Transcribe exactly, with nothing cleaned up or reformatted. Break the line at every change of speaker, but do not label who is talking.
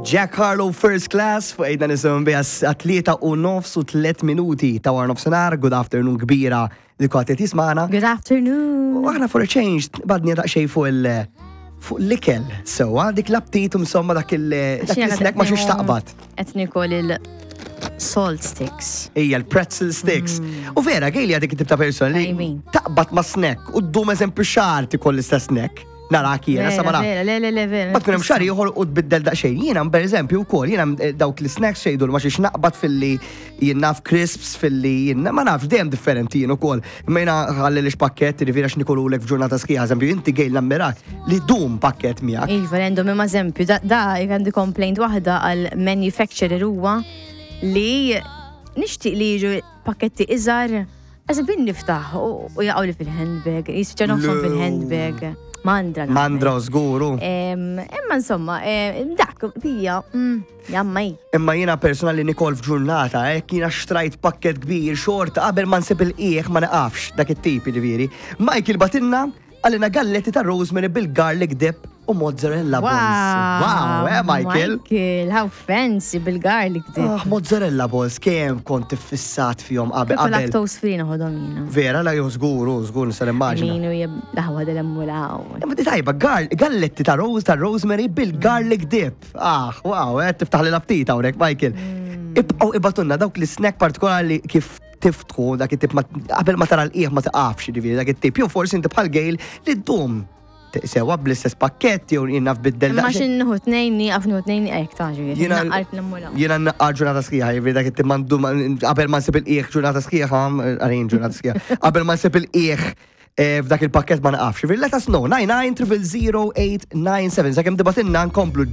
Jack Harlow, First Class, fuq Għidna Nisimgħu Biha, tlieta u nofs u tliet minuti ta' wara nofsinhar. Good afternoon kbira li kulħadd jismagħna.
Good afternoon.
U aħna for a change badni daqsxejn fuq il- fuq l-ikel. Sewa, dik l-aptit, insomma, dak il- dak il-snack ma xiex taqbad.
Qed nikol il-salt sticks.
Ija, l-pretzel sticks. U vera, Gail dik tip ta' persona li
Tajbin.
taqbad ma' snack u ddum eżempju xahar tikol l-istess snack. Narak jiena, sa ma
Vera,
naf.
vera, le, le, le, vera.
Ma tkun hemm xahar ieħor u tbiddel daqsxejn. Jiena per eżempju wkoll jiena eh, dawk l-snacks xejdu ma xiex naqbad filli jien naf crisps, filli jien ma nafx, dejjem differenti jien ukoll. Imma jiena ħalli li x'pakkett jiġifieri għax nikolulek f'ġurnata sħiħa, eżempju inti, Gail, nammirak li dum pakkett miegħek.
Iva, għandhom imma eżempju, da, da għandi complaint waħda għal manufacturer huwa li nixtieq li jiġu pakketti iżgħar. Eżempju niftaħ u u jaqgħu li fil-handbag, jispiċċa nofshom
Le.
fil-handbag. Mandra. nagħmel.
Mandra żguru.
Em, Imma insomma, em, dak, bija, mm, jammaj.
Imma jiena persona li nikol f'ġurnata, hekk jiena xtrajt pakket kbir, xorta qabel ma nsib il-qiegħ ma naqafx, dak it-tip jiġifieri. Michael bagħtilna, qalilna galletti ta' rosemary bil-garlic dip u mozzarella balls. Wow, eh, Michael?
Michael, how fancy bil-garlic dip.
Ah, mozzarella balls, kemm kont iffissat fihom qabel.
Kieku
Qabel.
Lactose free noħodhom jiena.
Vera, la jew żgur, żgur nista' nimmaġina.
Min u jeb laħwa del-emmulaw.
Imma di tajba, gar- galletti ta' rose ta' rosemary bil-garlic dip. Ah, wow, eh, tiftaħ li l-aptit hawnhekk, Michael. Ibqgħu ibagħtulna dawk li snack partikolari kif tiftħu dak it-tip ma- qabel ma tara l-qiegħ ma taqafx, jiġifieri dak it-tip. Jew forsi inti bħal Gail li ddum sewa bl-istess pakkett jew jien naf biddel
Imma
daqsxejn.
xin nieħu tnejn, nieqaf, nieħu tnejn, hekk ta' ġifieri.
Jiena
Naqqart l-emmulaw.
Jiena naqqar ġurnata sħiħa, jiġifieri dak it-tip mandu qabel ma nsib il-qiegħ ġurnata sħiħa, għarin ġurnata sħiħa, qabel ma nsib il-qiegħ eh, f'dak il-pakket ma naqafx. Jiġifieri let us know, nine nine triple zero eight nine seven. Sakemm tibagħtilna nkomplu.